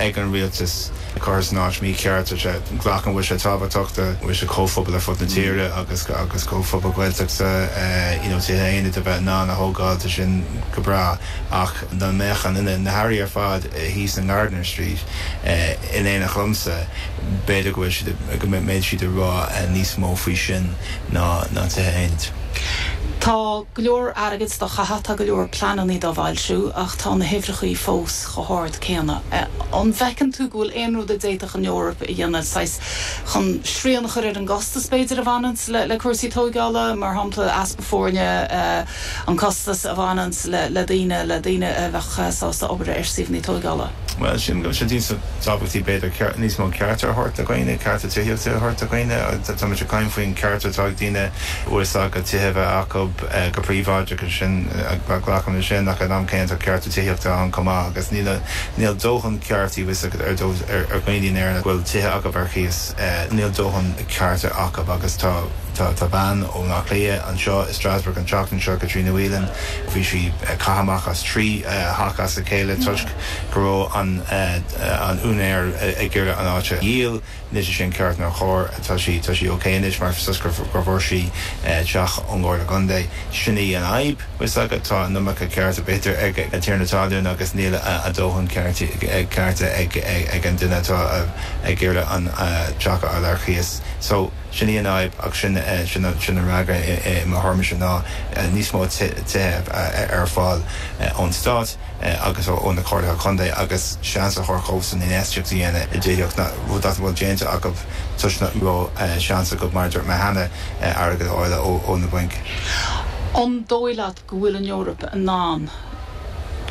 ag an rialtas curtha san áit mícheart. Tá sé, glacaim go bhfuil sé tábhachtach do bhfuil sé comhphobal ar fud na tíre agus agus comhphobal Gaeltachta you know tithe aonaid a bheith in ann a thógáil, tá sin go breá ach dá mbeadh an na hairí ar fad thíos in Gardiner Street in éineacht liomsa b'fhéidir go bhfuil siad go mbeidh siad ag rá níos mó faoi sin ná ná tithe aonaid. Tá go leor airgid dá chaitheamh, tá go leor pleanannaí dá bhfoilsiú ach tá na huimhreachaí fós chomh hard céanna. An bhfeiceann tú go bhfuil aon rud a d'fhéadfadh an Eoraip a dhéanamh, saghas, chun srian a chur ar an gcostas, b'fhéidir, a bhaineanns le cúrsaí tóigeála, mar shampla, easpa foirne, an costas a bhaineanns le daoine, le daoine a bheadh sásta obair ar suíomhanna tóigeála? Bhuel, sílim go bhfuil sé níos tábhachtaí, b'fhéidir, níos mó cearta a thabhairt do dhaoine, cearta tithíochta a thabhairt do dhaoine. Tá muid ag caint faoin ceart atá ag daoine uathach a tithe a bheith acu go príobháideach agus sin, glacaim leis sin, ach ag an am céanna tá cearta tithíochta ann chomh maith agus níl, níl dóthain ceartaí bhfuil a fhios agat ar, ar dhaoine in Éirinn go bhfuil tithe acu ar chíos, níl dóthain cearta acu agus tá. Tá bean ó Bhaile Átha Cliath anseo i Strasbourg an tseachtain seo, Caitríona Whelan. Bhí sí caite amach as 3 theach as a chéile toisc go raibh an úinéir ag iarraidh an áit a dhíol. Níl sé sin ceart ná cóir. Tá sí tá sí ok anois mar toisc gur bhfuair sí teach ón gComhairle Contae. Sin í an fhadhb, bhfuil a fhios agat. Tá an iomarca cearta b'fhéidir ag an tiarna talún agus níl a dóthain cearta ag an duine atá ag iarraidh an teach a fháil ar chíos. So. Sin í an fhadhb ach sin sin an fhreagra i mo thuairimse ná níos mó tithe ar fáil ón stát agus ó na comhairlithe contae agus seans a thabhairt dhóibhsan infheistíocht a dhéanamh i dtithíocht, rud nach bhfuil déanta acu toisc nach raibh seans acu, mar a dúirt mé cheana, airgead a fháil ó na bainc. An dóigh leat go bhfuil an Eoraip in ann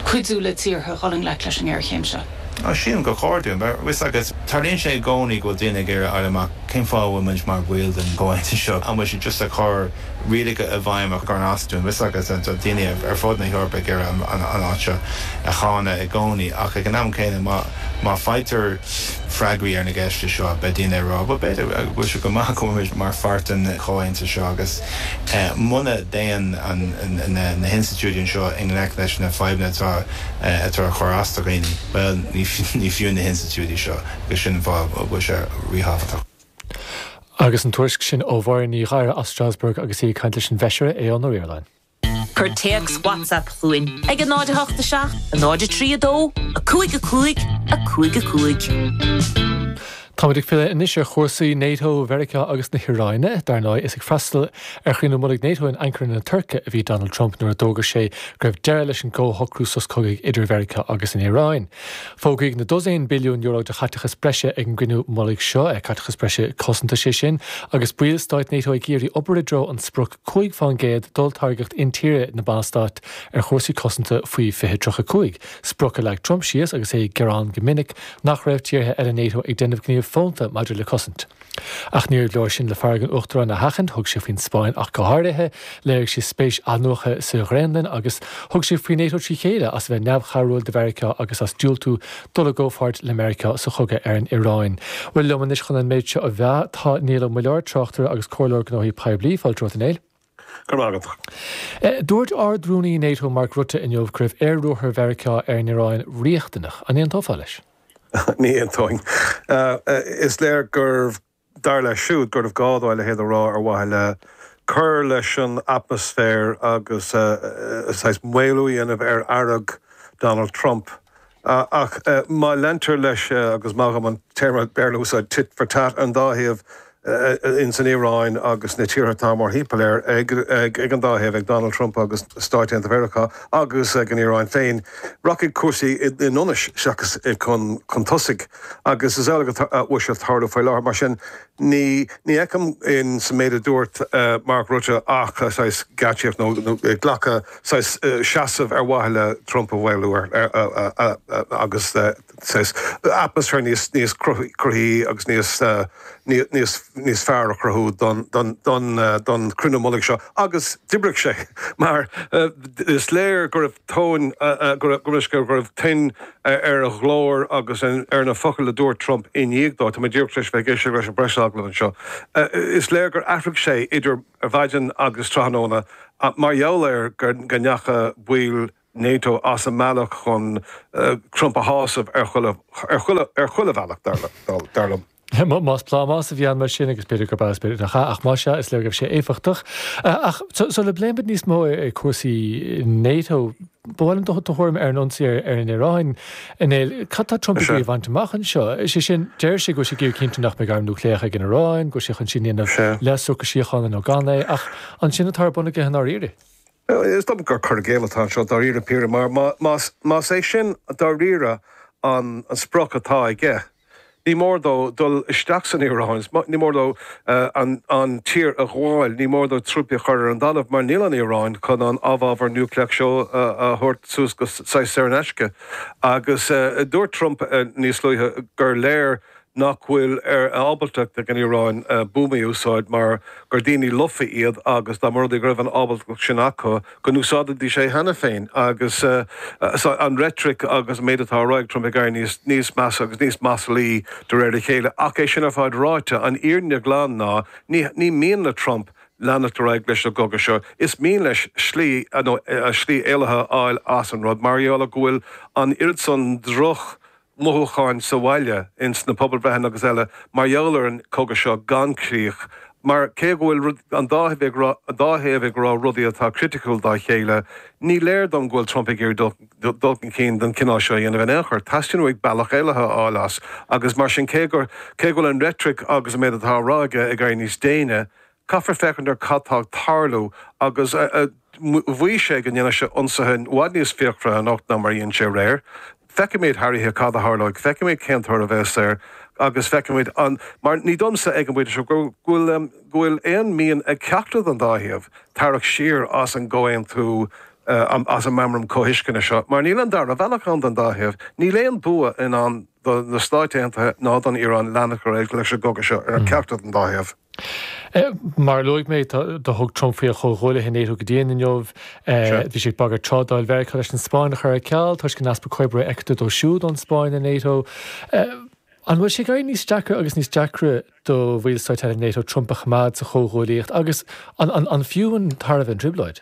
cuidiú le tíortha dhul i ngleic leis an ngéarchéim seo? Sílim gur chóir dúinn. Mar, bhfuil a fhios agat, tarlaíonn sé i gcónaí go bhfuil daoine ag iarraidh a fháil amach cén fáth a bhfuil muid mar bhaill den chomhaontas seo. An bhfuil siad just ag cur rialacha i bhfeidhm a chuireann as dúinn? Bhfuil a fhios agat, tá daoine ar fud na hEorpa ag iarraidh an áit seo a cháineadh i gcónaí. Ach ag an am céanna, má má faightear freagraí ar na gceisteanna seo, beidh daoine ag rá, bhuel, b'fhéidir go bhfuil sé go maith go bhfuil muid mar pháirt den chomhaontas seo. Agus muna dtéann na hinstitiúidí anseo i ngleic leis na fadhbanna atá atá ag cur as do dhaoine, bhuel, ní fiú na hinstitiúidí seo agus sin an fáth a bhfuil sé ríthábhachtach. Agus an tuairisc sin ó Mháire Ní Ghadhra as Strasbourg agus í ag caint leis an bhFeisire Aodhán Ó Ríordáin. Cuir téacs WhatsApp chugainn ag 0 8 7 0 3 2 5 5 5 5. Táimid ag filleadh anois ar chúrsaí NATO, Mheiriceá agus na hIaráine. Dar ndóigh, is ag freastal ar chruinniú mullaigh NATO in Ankara na Tuirce a bhí Donald Trump nuair a d'fhógair sé go raibh deireadh leis an gcomhshocrú sos cogaidh idir Mheiriceá agus an Iaráin. Fógraíodh na dosaen billiún euro de chaiteachas breise ag an gcruinniú mullaigh seo, caiteachas breise cosanta, sé sin, agus baill stáit NATO ag iarraidh obair i dtreo an sprioc 5% d'olltáirgeacht intíre na mballstát ar chúrsaí cosanta faoi 2035, sprioc a leag Trump síos agus é ag gearán go minic nach raibh tíortha eile NATO ag déanamh gníomh fónta maidir le cosaint. Ach níorbh leor sin le fearg an Uachtaráin a sheachaint, thug sé faoin Spáinn ach go háirithe, léirigh sé spéis athnuaite sa Ghraonlainn agus thug sé faoi NATO trí chéile as a bheith neamhchabhrúil do Mheiriceá agus as diúltú dul i gcomhpháirt le Meiriceá sa chogadh ar an Iaráin. Bhuel, liom anois chun an méid seo a mheá, tá Niall Ó Muilleoir, tráchtaire agus comhairleoir gnóthaí poiblí. Fáilte romhat, a Néill. Go raibh maith agat. Dúirt Ard-Rúnaí NATO Mark Rutte inniu go raibh aer-ruathar Mheiriceá ar an Iaráin riachtanach. An aontófá leis? Ní aontóinn. Is léir gurbh, dar leis siúd, gurbh gá dó a leithéid a rá ar mhaithe le cur leis an atmaisféar agus saghas maolú a dhéanamh ar fhearg Donald Trump. Ach má leantar leis, agus maith dhom an téarma Béarla a úsáid, tit for tat, an dá thaobh, ins an Iaráin agus na tíortha atá mórthimpeall air, ag an dá thaobh, ag Donald Trump agus Stáit Aontaithe Mheiriceá agus ag an Iaráin féin, rachaidh cúrsaí i ndonas seachas chun tosaigh. Agus is amhlaidh a bhfuil sé ag tarlú faoi láthair. Mar sin, ní fheicim in sa méid a dúirt Mark Rutte ach saghas geáitsíocht nó glacadh saghas seasamh ar mhaithe le Trump a mhaolú agus saghas atmaisféar níos níos cruthaithí agus níos níos níos fearr a chruthú don don don don chruinniú mullaigh seo agus d'oibrigh sé mar is léir go raibh tóin go raibh go raibh tuin ar a ghlór agus ar na focail a dúirt Trump i ndiaidh dó. Tá mé díreach tar éis bheith ag éisteacht leis an bpreasagallamh anseo. Is léir gur athraigh sé idir ar maidin agus tráthnóna mar gheall ar go ndeacha baill. NATO as an mbealach chun Trump a shásamh ar chuile, ar chuile, ar chuile bhealach, dar liom. Más plámás a bhí ann mar sin, agus b'fhéidir gurb ea is b'fhéidir nach ea, ach más ea, is léir go raibh sé éifeachtach. Ach sula bpléimid níos mó cúrsaí NATO, ba mhaith liom do thuairim ar an ionsaí ar an Iaráin, a Néill. Cad tá Trump ag iarraidh a bhaint amach anseo? Is é sin, deir sé go bhfuil sé ag iarraidh cinntiú nach mbeidh arm núicléach ag an Iaráin, go bhfuil sé chun sin a dhéanamh le socrú síochána nó gan é, ach an sin atá ar bun aige i ndáiríre? Is dócha gur cur i gcéill atá anseo dáiríre píre, mar más é sin dáiríre an sprioc atá aige, ní mór dó dul isteach san Iaráin, ní mór dó an tír a ghabháil, ní mór dó trúpaí a chur ar an dtalamh, mar níl an Iaráin chun an amhábhar núicléach seo a thabhairt suas go saghas saor in aisce. Agus dúirt Trump níos luaithe gur léir nach bhfuil ar ábaltacht ag an Iaráin buamaí a úsáid mar gur daoine lofa iad agus dá mba rud é go raibh an ábaltacht sin acu go n-úsáidfidís é cheana féin. Agus an reitric agus an méid atá á rá ag Trump ag éirí níos measa agus níos maslaí de réir a chéile. Ach é sin ar fad ráite, an fhírinne ghlan ná ní mian le Trump leanacht ar aghaidh leis an gcogadh seo. Is mian leis slí nó slí éalaithe a fháil as an rud mar gheall ar go bhfuil an oiread san droch mothúcháin sa bhaile, ins na pobalbhreitheanna agus eile, mar gheall ar an cogadh seo gan críoch. Mar cé go bhfuil an dá thaobh ag rá, an dá thaobh ag rá rudaí atá criticiúil dá chéile, ní léir dom go bhfuil Trump ag iarraidh dul chun cinn den chineál seo a dhéanamh in aon chor. Teastaíonn uaidh bealach éalaithe a fháil as agus mar sin cé gur, cé go bhfuil an reitric agus an méid atá á rá aige ag éirí níos déine, Caithfear féachaint ar cad tá ag tarlú agus mhaígh sé go ndéanfadh sé ionsaithe i bhfad níos fíochmhaire anocht ná mar a dhein sé aréir. Feicfimid thar oíche cad a tharlóidh, feicfimid cén toradh a bheas air agus feicfimid an, mar ní domsa ag an bpointe seo go bhfuil go bhfuil aon mhian ag ceachtar den dá thaobh tarrac siar as an gcomhaontú, as an Meamram Comhthuisceana seo, mar níl an dara bealach ann don dá thaobh. Níl aon bua i ndán do na Stáit Aontaithe ná don Iaráin leanacht ar aghaidh leis an gcogadh seo ar cheachtar den dá thaobh. Mar a luaigh mé, do thug Trump faoi a chomhghuaillithe NATO go dian inniu. Bhí sé ag bagairt trádáil Mheiriceá leis an Spáinn a chur ar ceal toisc an easpa comhoibre a fheictear dó siúd ón Spáinn i NATO. An bhfuil sé ag éirí níos deacra agus níos deacra do bhallstáit eile NATO Trump a choimeád sa chomhghuaillíocht agus an fiú an tairbhe an trioblóid?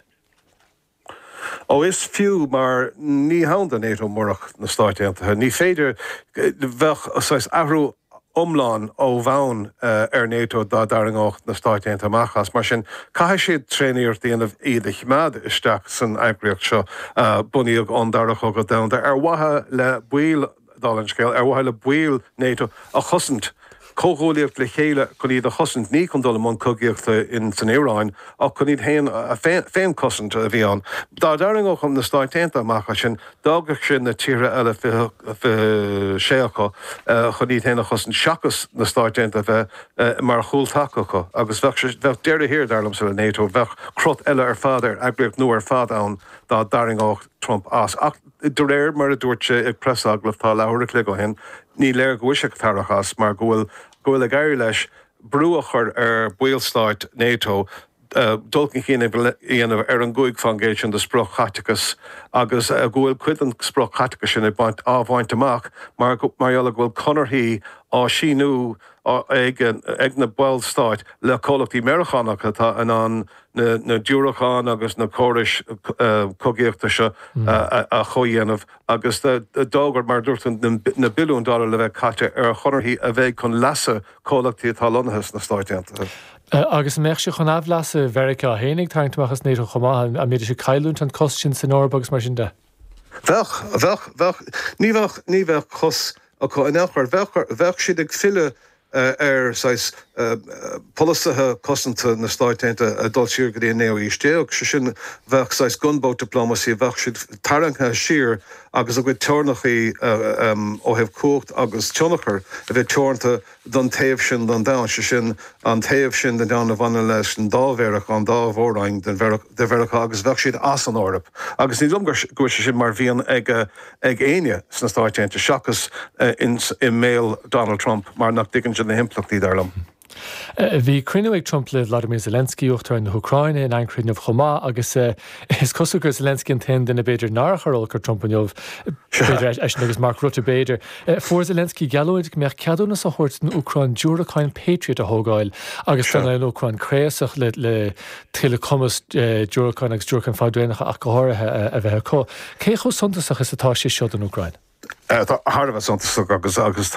Ó, is fiú, mar ní hann do NATO murach na Stáit Aontaithe. Ní féidir, bheadh saghas athrú iomlán ó bhonn ar NATO dá dtarraingeodh na Stáit Aontaithe amach as. Mar sin, caithfidh siad tréaniarracht a dhéanamh iad a choimeád isteach san eagraíocht seo a bunaíodh ón Dara Cogadh Domhanda ar mhaithe le baill dála an scéil, ar mhaithe le baill NATO a chosaint, comhghuaillíocht le chéile chun iad a chosaint, ní chun dul i mbun cogaíochta in san Iaráin, ach chun iad féin a féinchosaint a bhí ann. Dá dtarraingeodh na Stáit Aontaithe amach as sin, d'fhágfadh sin na tíortha eile, 26 acu, chun iad féin a chosaint seachas na Stáit Aontaithe a bheith mar chúltaca acu. Agus bheadh bheadh deireadh thiar, dar liomsa, le NATO. Bheadh crot eile ar fad ar eagraíocht nua ar fad ann dá dtarraingeodh Trump as. Ach de réir mar a dúirt sé ag preasagallamh tá leathuair a chloig ó shin, ní léir go bhfuil sé ag tarrac as mar go bhfuil go bhfuil ag éirí leis brú a chur ar bhallstáit NATO dul chun cinn a dhéanamh ar an 5% sin de sprioc-chaiteachas agus go bhfuil cuid den sprioc-chaiteachas sin ag baint á bhaint amach mar mar gheall ar go bhfuil conarthaí á síniú ag ag na ballstáit le comhlachtaí Meiriceánacha atá in ann na diúracáin agus na córais cogaíochta seo a chomhdhéanamh agus d'fhógair, mar a dúirt tú, na billiúin dollar le bheith caite ar chonarthaí a bheidh chun leasa comhlachtaí atá lonnaithe sna Stáit Aontaithe. Agus an mbeadh sé chun aimhleasa Mheiriceá féin ag tarraingt amach as NATO chomh maith? An mbeidís ag cailliúint an cosc sin san Eoraip agus mar sin de? Bheadh, bheadh, bheadh. Ní bheadh, ní bheadh cos acu in aon chor. Bheadh, bheadh siad ag filleadh ar saghas polasaithe cosanta na Stáit Aontaithe ag dul siar go dtí an naoú haois déag, sé sin, bheadh saghas gunboat diplomacy, bheadh siad tarraingthe siar agus a gcuid teorainneacha ó thaobh cumhacht agus tionchar a bheith teoranta don taobh sin den domhan, sé sin, an taobh sin den domhan a bhaineann leis an dá Mheiriceá, an dá mhór-roinn de Mheiriceá agus bheadh siad as an Eoraip. Agus ní dóigh liom go bhfuil sé sin mar mhian ag ag éinne sna Stáit Aontaithe seachas i mbéal Donald Trump mar nach dtuigeann sé na himpleachtaí, dar liom. Bhí cruinniú ag Trump le Vladimir Zelensky, Uachtarán na hÚcráine, in Ancara inniu chomh maith agus is cosúil gur Zelensky an t-aon duine b'fhéidir nár chuir olc ar Trump inniu, b'fhéidir eisean agus Mark Rutte b'fhéidir. Fuair Zelensky geallúint go mbeadh ceadúnas á thabhairt don Úcráin diúracáin Patriot a thógáil agus don an Úcráin craosach le tuilleadh cumas diúracáin agus diúracáin fadraonacha ach go háirithe a bheith acu. Cé chomh suntasach is atá sé seo don Úcráin? Tá thar a bheith suntasach agus agus.